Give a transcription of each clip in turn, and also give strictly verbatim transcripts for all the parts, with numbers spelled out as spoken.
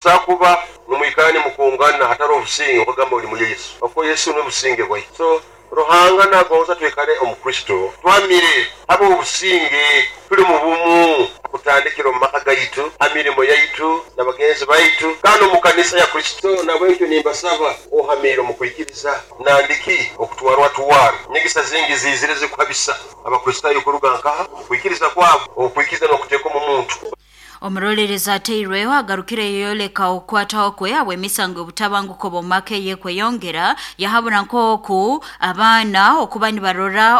Takuba mumwikane mukungana hatari obusinge, okugamba oli muri Yesu, okuko Yesu n'obusinge bwaitu. So Ruhanga nagonza twikale omu Kristo, twamire habe obusinge, tuli mu bumu, kutandikira omu maka gaitu, ha mirimo yaitu n'abagenzi baitu, kandi omu kanisa ya Kristo. Nabwekyo nimbasaba ohamire omu kwikiriza, nandiki okutwarwa twaro nyegesa zingi zizire zikuhabisa Abakristaayo kuruga nkaha omu kwikiriza kwabo. Okwikiriza n'okuteeka omu muntu. Omurolerezi ateirweho agarukire yeyoleka okukwataho kwe habw'emisango y'obutabanguko bw'omu maka eyekweyongera, yahabura nk'oku abaana okuba nibarora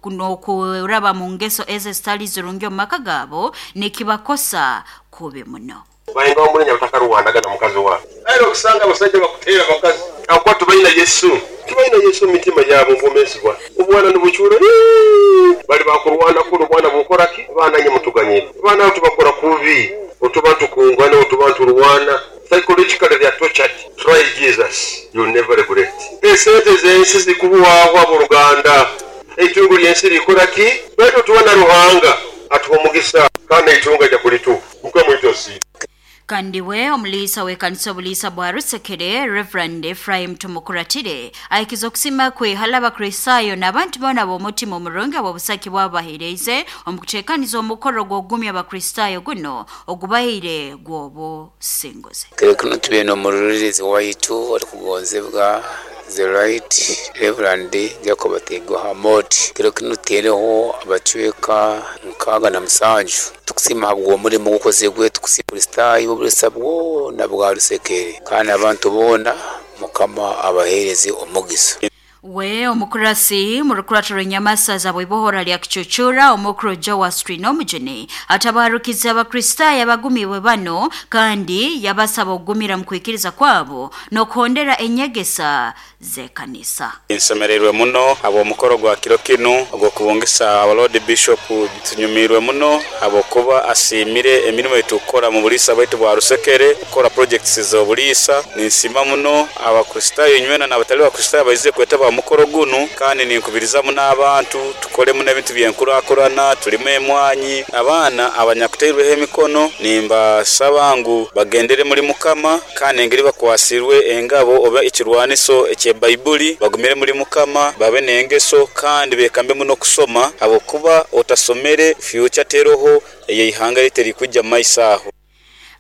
n'okuraba mu ngeso ezo ezitali zirungi omu maka gaabo nikibakosa kubi muno. Bainga omulinya batakarwanaga na mukazi waabo, era okusanga abasajja bakuteera abakazi akuba tubaina Yesu, tubaina Yesu omu mitima yaabo, omu bwomeezi bwabo. Obwana nibucuura, bali bakurwana kunu, obwana bukoraki? Abaana nye mutuganyire, abaana abo tubakora kubi, otuba ntukungana, otuba nturwana. Psychologically they are tortured. Try Jesus, you'll never regret. Esente z'ensi zikuhwaho, abooluganda, eitungo ly'ensi likoraki? Baitu tuba na Ruhanga atuha omugisa, kandi eitungo ajja kulituha. Mukama waitu asiimwe. Kandi we omuliisa w'ekanisa obuliisa bwa Rusekere, Reverend Ephraim Tumukuratire, ahikiza okusima kwe hali Abakristaayo n'abantu boona b'omutima omurungi ab'obusaki bwabo baheereize omu kuteekaniza omukoro gw'okugumya Abakristaayo guno ogubaire gw'obusinguzi. Kiro kinu tubaire n'omurorerezi waitu orikugonzebwa, the Right Reverend Jacob Tegoha Mot. Kiro kinu tuteereho abacweka nkaaga na musanju. Tukusiima habw'omulimo ogukozerwe, tukusiima Kristaayo b'obulisa bwona bwa Rusekere kandi abantu boona, Mukama abaheereze omugisa. We omukurasi mu rukurato rw'enyamasaza bw'ibohora lya Kicucura, omukuru Joas Twinomujuni, atabarukiza Abakristaayo abagumibwe bano kandi yabasaba okugumira mu kwikiriza kwabo n'okuhondera enyegesa z'ekanisa. Nsemererwe muno habw'omukoro gwa kiro kinu ogw'okubungisa our Lord Bishop. Tunyumirwe muno habwokuba asiimire emirimo eitukukora mu buliisa bwaitu bwa Rusekere, kukora projects z'obuliisa. Ninsiima muno Abakristaayo inywena n'abatali Bakristaayo baizire kwetaba mu mukoro gunu, kandi ninkubiriza muno abantu tukolemu n'ebintu by'enkurakurana, tulime emwanyi. Abaana abanyakuteirweho emikono nimbasaba ngu bagendere muri Mukama, kandi engeri bakwasirwe engabo oba ekirwaniso eky'Ebaibuli, bagumire muri Mukama, babe n'engeso, kandi beekambe muno kusoma, habwokuba otasomere future teroho ey'eihanga lyaitu erikwijja mu maiso aho.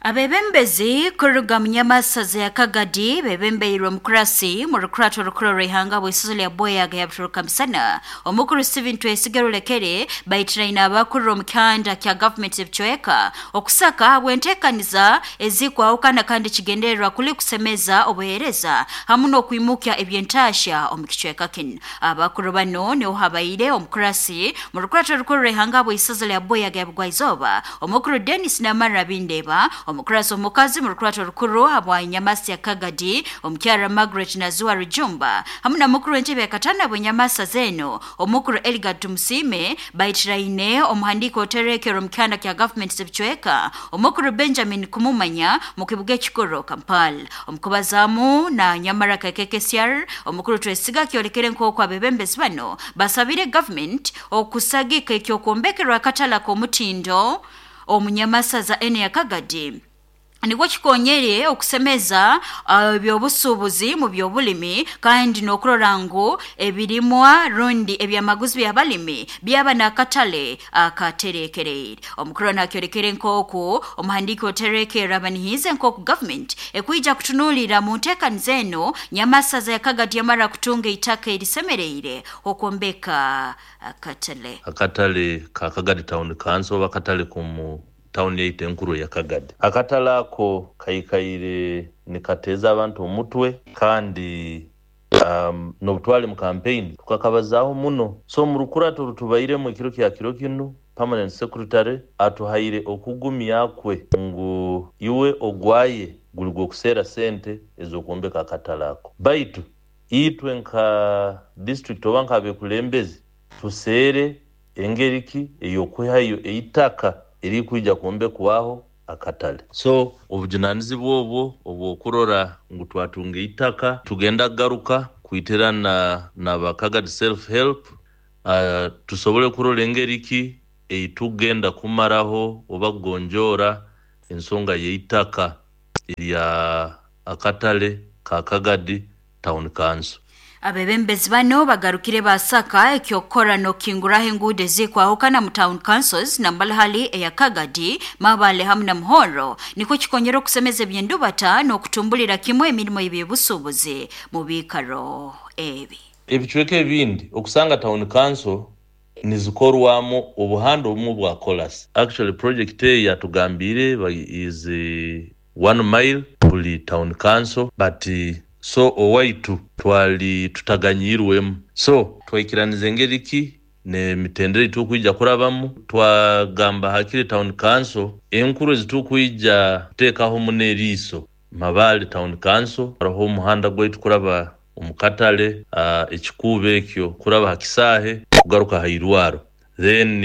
Abebembezi kuruga munyamasaza ya Kagadi bebembeirwe omukurasi mu rukurato rukuru rw'ihanga bw'isozo lya Boyaga yabituruka misana, omukuru Steven Twesige Rulekere, baitiraine abakuru omu kyanda kya gavumenti ebicweka okusaka habw'enteekaniza ezikwahukana kandi kigendererwa kuli kusemeza obuheereza hamu n'okwimukya eby'entaasya omu kicweka kinu. Abakuru bano niho habaire omukurasi mu rukurato rukuru rw'ihanga bw'isozo lya Boyaga yabugwaizooba, omukuru Denis Namara Bindeba, omukurasi omukazi mu rukurato rukuru habwa Nyamasi ya Kagadi, omukyara Margaret Nazua Rujumba, hamu na mukuru w'entebe ya katana bw'enyamasa zeno, omukuru Eligard Tumusiime, baitiraine omuhandiiko oterekero omu kyanda kya gavumenti z'ebicweka, omukuru Benjamin Kumumanya, mu kibuga ekikuru Kampala. Omukubazaamu na Nyamara K K C R, omukuru Twesiga kyolekere nk'oku abebembezi bano basabire gavumenti okusagika ekyokwombekerwa akatale k'omutindo omunyamasaza ene ya Kagadi nibwo kikonyere okusemeza ebyobusuubuzi mu byobulimi, kandi n'okurora ngu ebirimwa rundi ebyamaguzi by'abalimi byaba n'akatale akaterekereire. Omukuru nakyolekere nk'oku omuhandiiki oterekerra abanihiize nk'oku gavumenti ekwija kutunuulira mu nteekaniza eno Nyamasaza ya Kagadi yamara kutunga eitaka erisemereire okwombeka akatale. Akatale ka Kagadi Town Council oba akatale k'omu tawuni yaitu enkuru eya Kagadi, akatale ako kaikaire nikateeza abantu omutwe, kandi um, n'obutwali mu campaign tukakabazaaho muno. So mu rukurato orutubairemu ekiro kya kiro kinu, permanent secretary atuhaire okugumya kwe ngu iwe ogwaye guli gw'okuseera sente ez'okwombeka akatale ako, baitu itwe nka district oba nk'abekulembezi tuseere engeri ki ey'okwihayo eitaka erikwija kwombekwaho akatale. So obujunanizibwa obwo obw'okurora ngu twatunga eitaka, tugenda kugaruka kwitirana na Kagadi Self Help, uh, tusobole kurora engeri ki eitugenda kumaraho oba kugonjoora ensonga y'eitaka. erya akatale ka Kagadi Town Council. Abebembezi bano bagarukire basaka ekyokora nokinguraho enguudo ezikwahukana mu town councils nambalahali eya Kagadi, Mabale hamu na Muhoro nikwo kikonyera okusemeza ebyendubata n'okutumbulira kimwe emirimo y'ebyobusuubuzi mu biikaro ebi. Ebicweka ebindi okusanga town council nizikorwamu obuhanda obumwe bwa kolas. Actually project eyo yatugambire is one mile buli town council, but so owaitu twali tutaganyirwemu, so twaikiraniza engeri ki n'emitendera etukwija kurabamu. Twagamba hakiri town council enkuru ezitukwija kuteekaho muno eriiso Mabale Town Council, hariho omuhanda gwaitu kuraba omukatale, uh, ekikuubo ekyo kuraba ha kisaahe kugaruka ha irwaro, then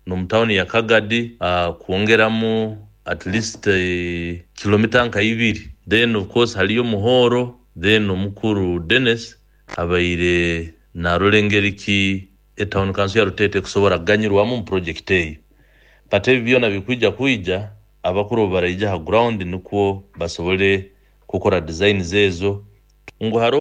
n'omu tawuni ya Kagadi uh, kwongeramu at least uh, kilomita nka ibiri, then of course haliyo Muhoro, then omukuru Dennis abaire narora engeri ki etown council ya Rutete kusobora kuganyirwamu mu project eyo. But ebi byona bikwija kwija abakuru baraija ha ground nikwo basobole kukora design zezo ngu haro.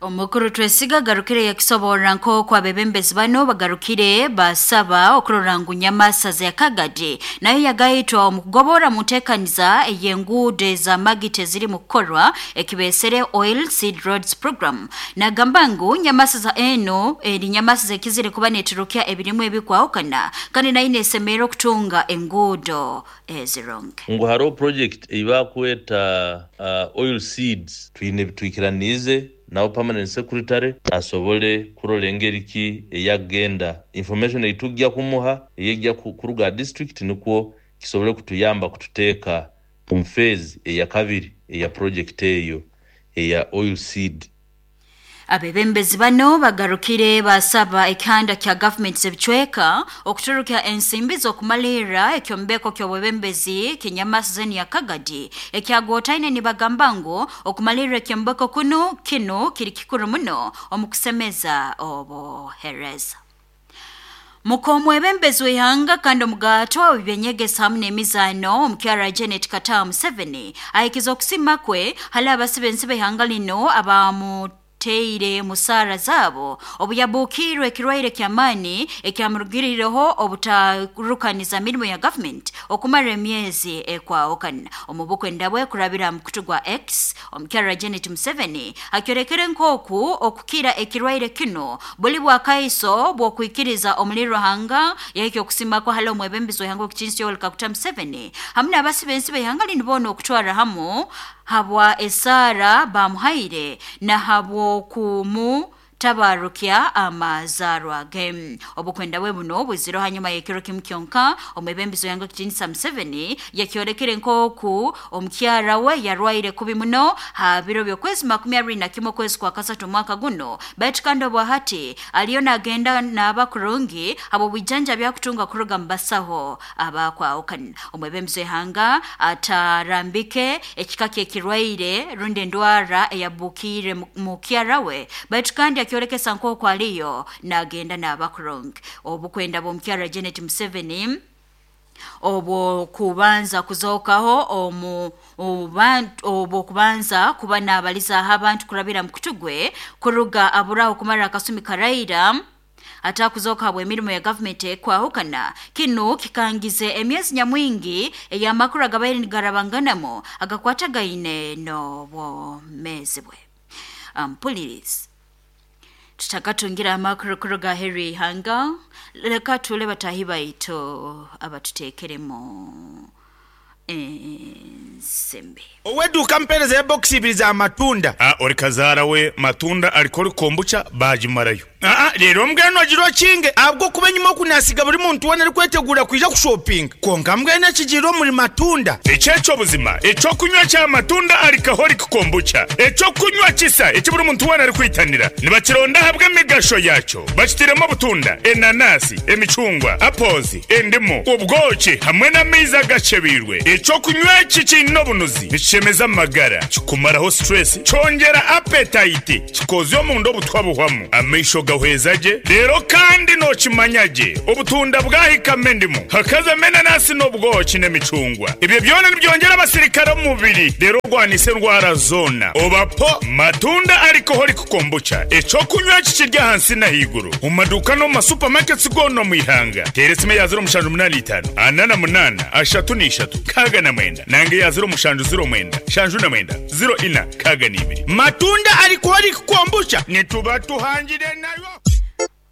Omukuru Twesiga garukire yakisoborra nk'oku abebembezi bano bagarukire basaba okurora ngu Nyamasaza ya Kagadi nayo yagayitwa omu kugobora mu nteekaniza ey'enguudo ez'amagita eziri mu kukorwa ekibesere Oil Seed Roads Program. Nagamba ngu Nyamasaza eno eri Nyamasaza ekizire kuba neturukya ebirimu ebikwahukana kandi nayo nesemerera okutunga enguudo ezironge. Ngu hariho project eibakweta uh, oil seeds twine bitwikiranize nawo permanent secretary asobole kurola engeri ki eyagenda information eitujja kumuha eyejja kuruga district nikwo kisobole kutuyamba kututeeka mu phase eya kabiri eya project eyo eya oil seed. Abebembezi bano bagarukire basaba ekihanda kya government z'ebicweka okuturuka ensimbi z'okumalirra ekyombeko ky'obwebembezi Kinyamasaza ya Kagadi ekyagotaine nibagamba ngu okumalirra ekyombeko kuno kino kiri kikuru muno omu kusemeza obuheereza. Mukomwebembezi w'ihanga kandi omugato w'ebyenyegesa hamwe n'emizaano omukyara Janet Kataaha Museveni ahikiza okusima kwe hali abasibensi b'ihanga lino abamu teire musara zabo obuyabukirwe ekirwaire ky'amaani ekyamurugirireho obutarukaniza mirimo ya government okumara emyezi ekwahukana. Omu bukwenda bwe kurabira mu kutu gwa X, omukyara Janet Museveni akyorekere nk'oku okukira ekirwaire kino buli bwakaiso bw'okwikiriza omuli Ruhanga yahikya okusima kwa hali omwebembezi w'ihanga w'ekitinisa Yoweri Kaguta Museveni hamwe n'abasibensi b'ihanga lino boona okutwara hamu habwa esara bamuhaire na habwokumu tabarukya amazarwa ge. Obukwenda bwe buno buziro hanyuma y'ekiro kimu kyonka omwebembezi w'ihanga w'ekitinisa Museveni yakyorekere nk'oku omukyara we yarwaire kubi muno ha biro by'okwezi makumi abiri na kimwe okwezi kwa kasatu omwaka guno, baitu kandi obwahati aliyo nagenda n'aba kurungi habw'obwijanja byakutunga kuruga mu basaho abakwahukana. Omwebembezi w'ihanga atarambike ekika ky'ekirwaire rundi endwara eyabukiire mukyara we, baitu kandi akyorekesa nk'oku aliyo nagenda n'abakurungi. Obukwenda bw'omukyara Janet Museveni obwo kubanza kuzokaho omu obwo kubanza kuba n'abalizaho abantu kurabira mu kutugwe kuruga aburaho kumara akasumi karaira atakuzoka habwa emirimo ya government ekwahukana. Kino kikangize emyezi nyamwingi ey'amakuru agabaire nigarabanganamo agakwatagaine n'obwomeezi bwe. Ampulirizi tutakatungira amakuru kuruga heri ihanga, leka tule batahi baitu abatuteekeremu ensimbi. Oweduka mpereza ya box ibiri za matunda. Ah, ori kazara we matunda alikori kombucha bajimarayo. Ah, rero mbweno agiro kinge abwo kuba nyuma kunasiga buri muntu wona ari kwetegura kuja ku shopping. Konka mbweno kigiro muri matunda. Echecho buzima, echo kunywa cha matunda alikahori kombucha. Echo kunywa kisa eki buri muntu wona ari kwitanira. Nibakironda habwe emigasho yacho. Bakitiremo butunda, enanasi, emicungwa, apples, endimu, ubwoki hamwe n'amaizi agacebirwe. Echo kunywa iki kino bunuzi nikishemeza amagara, kikumaraho stress, cyongera appetite, kikozyo mu ndo butwa buhwamu. Amaisho Nibagahweza gye rero kandi nokimanya gye obutunda bwahikamo endimu hakazamo enanasi n'obwoki n'emicungwa ebyo byona nibyongera abasirikare omu mubiri rero ogwanisa endwara zona obapo matunda alcoholic kombucha ekyokunywa kikirya ahansi n'ahaiguru omu maduuka n'omu masupamaketi goona omu ihanga teera esimu eya ziro mushanju munaana itaano ana na munaana ashatu n'ishatu kaaga na mwenda nange eya ziro mushanju ziro mwenda shanju na mwenda ziro ina kaaga n'ibiri Matunda alcoholic kombucha nituba tuhangire nayo.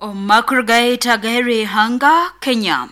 Omu makuru gaitu agaheru ihanga Kenya,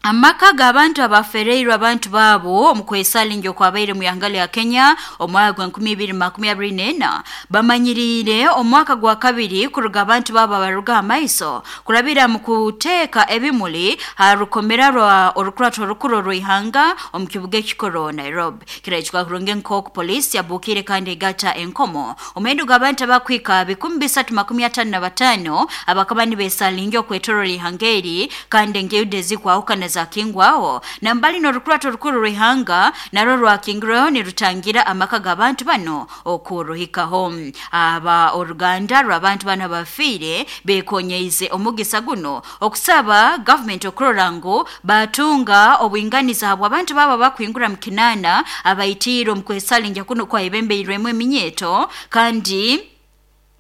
amaka g'abantu abafereirwe abantu baabo omu kwesalinja okwabaire mu ihanga lya Kenya omwaka gwa nkumi ibiri makumi abiri n'ena bamanyiriire omwaka gwa kabiri kuruga abantu baabo abaruga amaiso kurabira mu kuteeka ebimuli ha rukomera rwa orukurato orukuru orw'ihanga omu kibuga ekikoro Nairobi. Kirahikwa kurungi nk'oku poliisi yabuukire kandi egata enkomo omuhendo gw'abantu abakwika bikumi bisatu makumi atano na batano abakaba nibeesalinja okwetorora ihanga eri kandi enguudo ezikwahukana zakingwaho nambali n'orukurato rukuru rw'ihanga narwo rwakingirweho nirutangira amaka g'abantu bano okuruhikaho. Aba oruganda rw'abantu bano abafiire bekonyeize omugisa guno okusaba gavumenti okurora ngu batunga obwinganiza habw'abantu babo bakwingura mu kinaana abaitiire omu kwesalinja kuno kwaibembeirwemu eminyeto kandi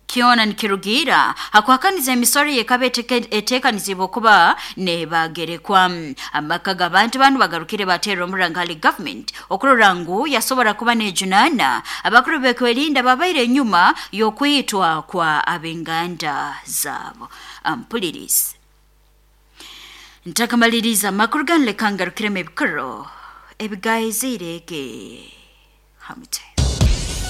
kyona nikirugira hakuhakaniza emisoro yekaba eteekanizibwa okuba nebagerekwa. Amaka g'abantu banu bagarukire bateera omuranga hali gavumenti okurora ngu yasobora kuba nejunaana abakuru b'ekwerinda babaire enyuma y'okwitwa kwa ab'enganda zaabo. Ampulirizi ntakamaliriza amakuru ganu leka ngarukiremu ebikoro ebigaizire ge hamute.